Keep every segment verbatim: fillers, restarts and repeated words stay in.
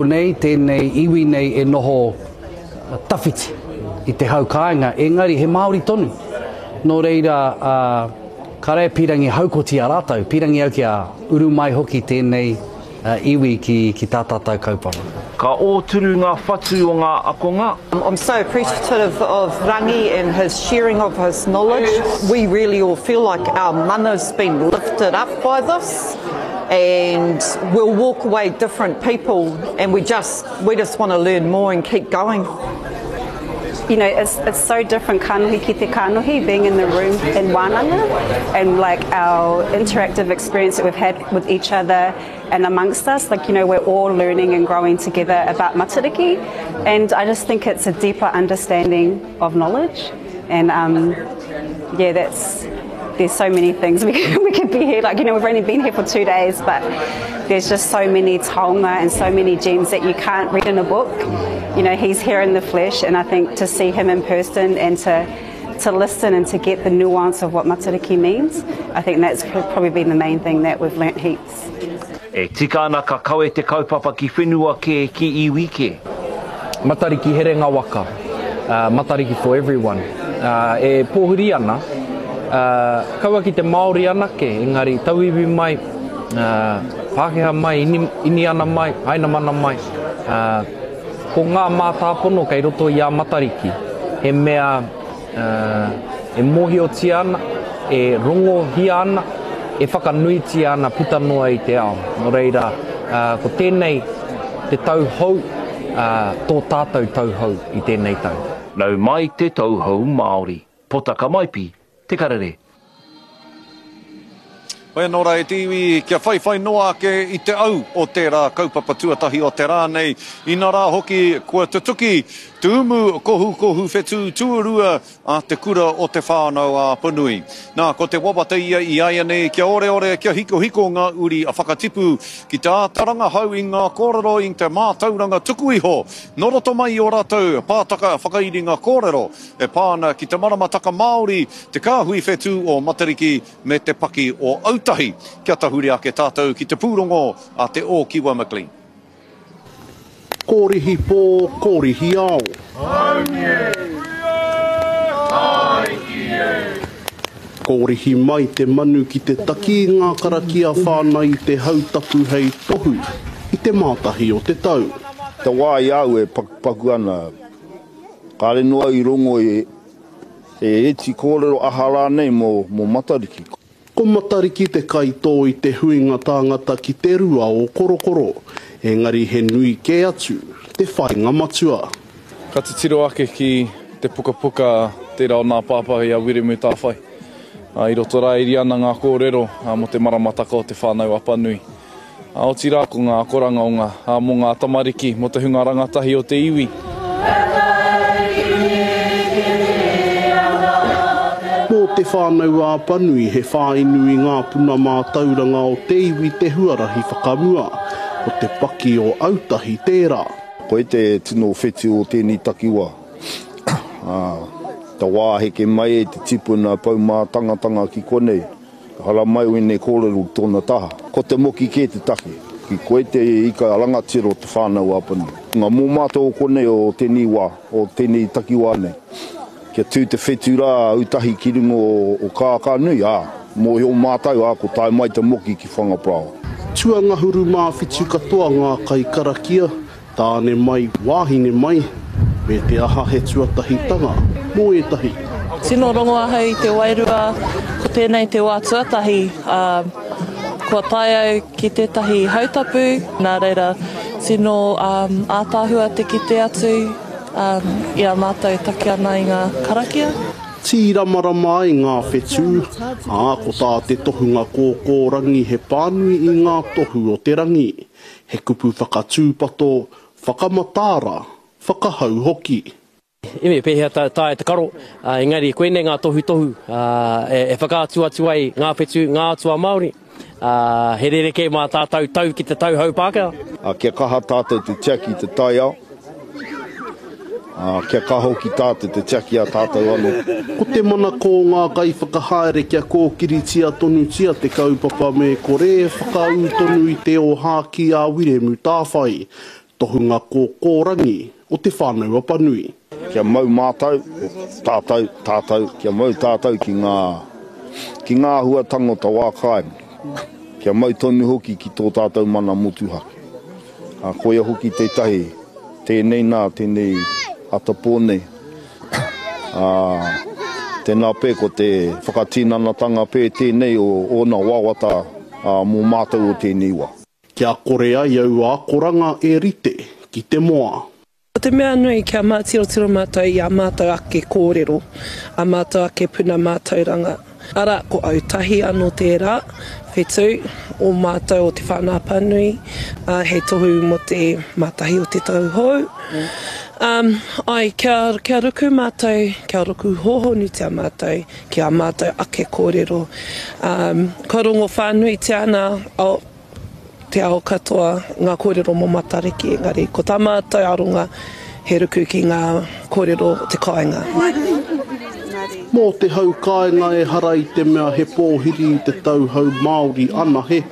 Nei, tēnei iwi nei e noho tawhiti i te hau kāinga, engari he Māori tonu. Nō reira, uh, kāre pīrangi haukoti a rātou, pīrangi au kia uru mai hoki tēnei uh, iwi ki, ki tā tātou kaupapa. Ka ōturu ngā whatu o ngā akonga. I'm so appreciative of Rangi and his sharing of his knowledge. We really all feel like our mana's been lifted up by this, and we'll walk away different people, and we just we just want to learn more and keep going. You know, it's, it's so different kanohi ki te kanohi, being in the room in wānanga, and like our interactive experience that we've had with each other and amongst us, like, you know, we're all learning and growing together about Matariki, and I just think it's a deeper understanding of knowledge, and um, yeah, that's, there's so many things we could, we could be here, like, you know, we've only been here for two days, but there's just so many taonga and so many gems that you can't read in a book. You know, he's here in the flesh, and I think to see him in person and to to listen and to get the nuance of what Matariki means, I think that's probably been the main thing that we've learnt heaps. E tika ana ka kawe te kaupapa ki whenua ke, ki iwi ke. Matariki herenga waka, uh, Matariki for everyone. Uh, e pōhuri ana, uh, kaua ki te Māori anake, engari tauiwi mai, uh, Pākehā mai, ini, Iniana mai, Hainamana mai. Uh, ko ngā mātāpono kei roto i a Matariki, he mea uh, e mōhiotia ana, e rongohia ana, e whakanuitia ana puta noa i te ao. Nō reira, uh, ko tēnei te tau hou, uh, tō tātou tau hou i tēnei tau. Nau mai te tau hou Māori. Potaka Maipi, Te Karere. Hoi anō rā e te iwi, kia whaiwhai noa ake i te au o tērā kaupapa tuatahi o te rā nei. Ina rā hoki kua tutuki te umu kohukohu whetū tuarua a te kura o te Whānau a Apanui. Nā, ko te wawata ia i āianei kia oreore, kia hikohiko ngā uri a whakatipu ki te āta rangahau i ngā kōrero i te mātauranga tuku iho nō roto mai i ō rātou pātaka whakairinga kōrero e pā ana ki te maramataka Māori, te kāhui whetū o Matariki me te paki o Autahi. Kia tahuri ake tātou ki te pūrongo a te Ōkiwa McLean. Kōrihi pō, kōrihi ao. Kōrihi mai te manu ki te taki i ngā karakia whānau i te hautapu hei tohu i te mātahi o te tau. Te wā i au e pakupaku ana, kāre noa i rongo e, e eti kōrero aha rānei mō, mō Matariki. Ko Matariki te kaitō i te huinga tāngata ki te rua o Korokoro, engari he nui kē atu te whainga matua. Ka titiro ake ki te pukapuka tērā o nā pāpā i a Wiremu Tāwhai. I roto rā iri ana ngā kōrero mō te maramataka o te Whānau Apanui. Otirā ko ngā akoranga o ngā, mō ngā tamariki, mō te hunga rangatahi o te iwi. Mō te Whānau Apanui he whāinu i ngā puna mātauranga o te iwi te huarahi whakamua, ko te paki o Autahi tērā. Koe te tino whetū o tēnei takiwā. Te wā heke mai e te tipuna paumātangatanga ki konei, hara mai o ēnei kōrero ki tōna taha. Ko te moki kē te take, ki koe te ika rangatira o te Whānau Apanui. Ngā mō mātou o konei o tēnei wā, o tēnei takiwā nei. Kia tū te whetū rā Autahi ki runga o, o Kākānui, ā, mōhio mātou, ā, ko tae mai te moki ki Whangaparāoa. Tuangahuru māwhitu katoa ngā kaikarakia, tāne mai, wāhine mai, me te aha he tuatahitanga mō ētahi. Tino rongo ahau i te wairua, ko tēnei te wā tuatahi, uh, kua tae au ki tētahi hautapu, nā reira tino um, ātaahua te kite atu um, i a mātou taki ana i ngā karakia. Tīramarama ai ngā whetū, ā, ko tā te tohunga kōkōrangi he pānui i ngā tohu o te rangi. He kupu whakatūpato, whakamataara, whakahau hoki. I me pēhea tā, tā e te karo, uh, engari koinei ngā tohutohu uh, e, e whakaatu atu ai ngā whetū, ngā atua Māori. Uh, he rerekē mā tātou tau ki te tau hau Pākehā. A, kia kaha tātou te tiaki te taiao, a, kia kaha hoki tātou te tiaki a tātou anō. Ko te manako o ngā kaiwhakahaere kia kōkiritia tonutia te kaupapa me kore e whakaū tonu i te ōhākī a Wiremu Tāwhai. tohunga kōkōrangi o Te Whānau Apanui. Kia mau mātou, tātou, tātou, kia mau tātou ki ngā, ki ngā āhuatanga o ta wā kāinga. Kia mau tonu hoki ki tō tātou mana motuhake. A, koia hoki tētahi, tēnei nā, tēnei atapō nei. A, tēnā pē ko te whakatinanatanga pē tēnei o ōna wawata a, mō mātou o tēnei wā. Kia kore ai aua akoranga e rite ki te moa. Ko te mea nui kia mātirotiro mātou i a mātou ake kōrero, a mātou ake puna mātauranga. Arā, ko autahi anō tērā, whetū, o mātou o Te Whānau Apanui, uh, hei tohu mō te mātahi o te tau hou. Um, ai, kia, kia ruku mātou, kia ruku hōhonutia mātou, ki a mātou ake kōrero. Um, ka rongo whānuitia ana, oh, te ao katoa ngā kōrero mō Matariki, engari ko tā mātou aronga he ruku ki ngā kōrero o te kāinga. Mō te hau kāinga e hara i te mea he pōhiri i te tau hou Māori anahe,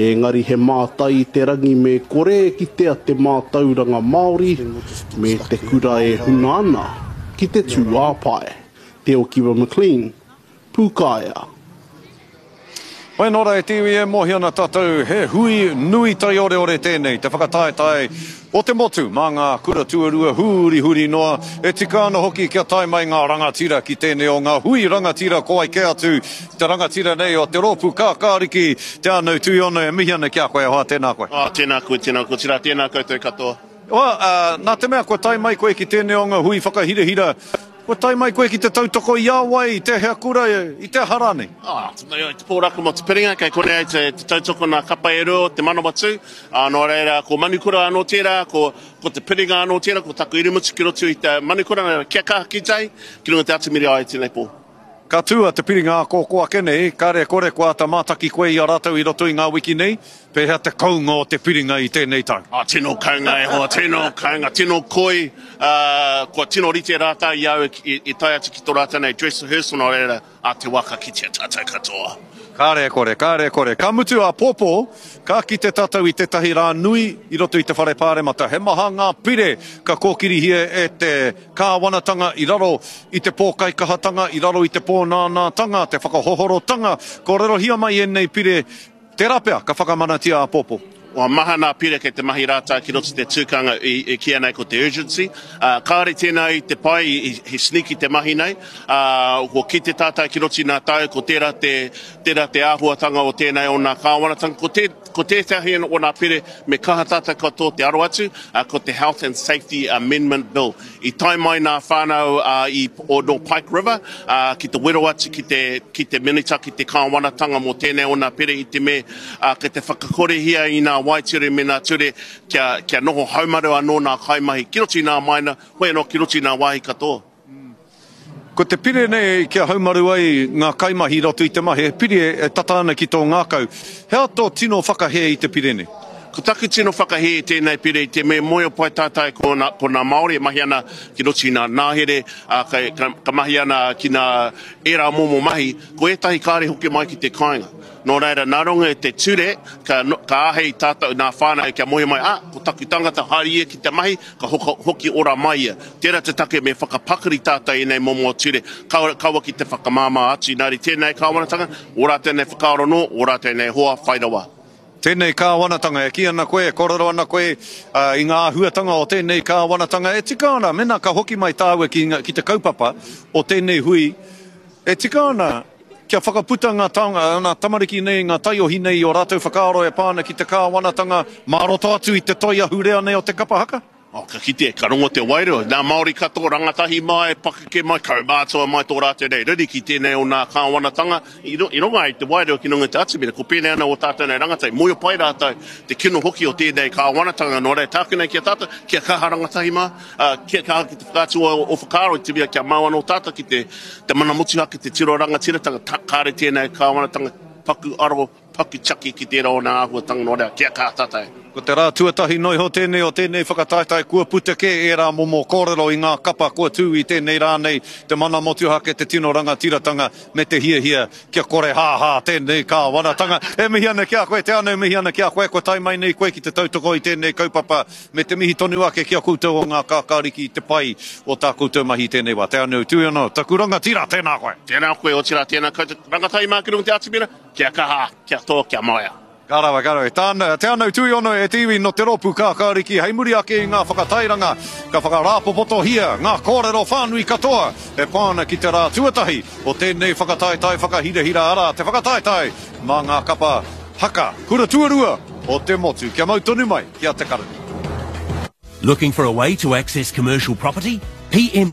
engari he mātai i te rangi me kore e kitea te mātauranga Māori me te kura e huna ana ki te tūāpae. Te Okiwa McLean, Pūkaea. Wai nō rā e te iwi e mōhio ana tātou he hui nui taioreore tēnei, te whakataetae o te motu mā ngā kura tuarua hurihuri noa, e tika ana hoki kia tae mai ngā rangatira ki tēnei o ngā hui rangatira ko ai kē atu te rangatira nei o te rōpū kākāriki, Te Anau Tuiono e mihi ana ki a koe e hoa, tēnā koe. Oh, tēnā koe, tēnā koe, tērā, tēnā koutou katoa. Hoa, uh, nā te mea kua tae mai koe ki tēnei o ngā hui whakahirahira, kua tae mai koe ki te tautoko i a wai, i tēhea kura, i te aha rānei? Oh, te pōraka mō te piringa, kei konei ai te, te tautoko nā kapa e rua o te Manawatū. Uh, nō reira, ko Manukura anō tērā, ko, ko te piringa anō tērā, ko taku irimutu ki roto i te Manukura, nā reira, kia kaha ki tai, ki runga te atamiri ai tēnei pō. Ka tū a te piringa ākōkō ake nei, kāre kore kua āta mātaki koe i a rātou i roto i ngā wiki nei, pēhea te kounga o te piringa i tēnei tau? Oh, tino kounga e hoa, tino kounga, tino koi, uh, kua tino rite rātou i au i, i tae atu ki tō rātou nei dress rehearsal, nō reira, a te waka kitea tātou katoa. Kāre kore, kāre kore. Ka mutu āpōpō, ka kite tātou i tētahi rā nui i roto i te whare pāremata. He maha ngā pire ka kōkirihia e te kāwanatanga i raro i te pōkaikahatanga, i raro i te pōnānātanga, te whakahohorotanga. Kōrerohia mai ēnei pire, tērā pea ka whakamanatia āpōpō. Kua maha nā pire kei te mahi rātou ki roto te tūkanga i, i kīia nei ko te urgency. Uh, kāore tēnā i te pai, i, he sneaky te mahi nei. Uh, ko kite tātou ki roto i nā tau, ko tērā te, tērā te āhuatanga o tēnei o nā kāwanatanga. Ko, te, ko tētahi o nā pire me kaha tātou katoa te aro atu, uh, ko te Health and Safety Amendment Bill. I tae mai nā whānau uh, i, o no Pike River uh, ki te wero atu ki te, ki te minita, ki te kāwanatanga mō tēnei o nā pire i te me uh, kei te whakakorehia i nā waeture me nā ture kia, kia noho haumaru anō nā kaimahi ki roto i nā maina, hoi anō ki roto i nā wāhi katoa. Ko te pire nei kia haumaru ai ngā kaimahi i roto i te mahi, he pire e tata ana ki tō ngākau. He aha tō tino whakahē i te pire nei? Ko taku tino whakahē i tēnei pire i te me moeo pai tātai ko nā, ko nā Māori e mahi ana ki roto i nā nāhere, uh, ka, ka, ka mahi ana ki nā ērā momo mahi, ko ētahi kāre hoki mai ki te kāinga. Nō reira, nā runga i te ture, ka, ka āhei tātou nā whānau kia moe mai, ah, ko taku tangata haere ia ki te mahi, ka hoka, hoki ora mai ia. Tērā te take me whakapakari tātou i nei momo ture, kaua, kaua ki te whakamāmā atu. Nā reira, tēnei kāwanatanga, o rātou nei whakaaro nō, o rātou nei hoa whai rawa. Tēnei kāwanatanga, e kī ana koe, e kōrero ana koe uh, i ngā āhuatanga o tēnei kāwanatanga, e tika ana, mena ka hoki mai tāua ki, ki te kaupapa o tēnei hui, e tika ana kia whakaputa ngā, taonga, ngā tamariki nei, ngā taiohi nei i o rātou whakaaro e pā ana ki te kāwanatanga mā roto atu i te toi ahurea nei o te kapa haka? Oh, ka kite, ka rongo te wairua. Nā Māori katoa, rangatahi mai, pakeke mai, kaumātua mai tō rātou nei riri ki tēnei o nā kāwanatanga. I, i rongo ai te wairua ki runga i te atamira, ko pēnei ana o tātou nei rangatahi. Moio pai rātou te kino hoki o tēnei kāwanatanga. Nō reira, tāku nei ki a tātou, kia kaha rangatahi mā, uh, kia kaha ki te whakaatu o, o whakaaro i te mea kia mau anō tātou ki te, te mana motuhake, te tiro rangatiratanga, ta, kāre tēnei kāwanatanga paku aro, paku tiaki ki tērā o nā āhuatanga. Nō reira, kia kaha tātou. Ko te rā tuatahi noa iho tēnei o tēnei whakataetae kua puta kē ērā momo kōrero i ngā kapa kua tū i tēnei rā nei, te mana motuhake, te tino rangatiratanga me te hiahia kia kore hāhā tēnei kāwanatanga. E mihi ana ki a koe, Te Anau, mihi ana ki a koe, kua tae mai nei koe ki te tautoko i tēnei kaupapa me te mihi tonu ake ki a koutou o ngā kākāriki i te pai o tā koutou mahi i tēnei wā. Te Anau Tuiono, taku rangatira, tēnā koe. Tēnā koe, otirā tēnā koutou rangatahi mā ki runga i te atamira, kia kaha, kia tō, kia moea. Ka rawe, ka rawe. Tāna, Te Anau Tuiono e te iwi no te rōpū Kākāriki hei muri ake i ngā whakatairanga ka whakarāpopotohia ngā kōrero whānui katoa e pā ana ki te rā tuatahi o tēnei whakataetae whakahirahira arā te whakataetae mā ngā kapa haka kura tuarua o te motu. Kia mau tonu mai ki a Te Karere. Looking for a way to access commercial property? P M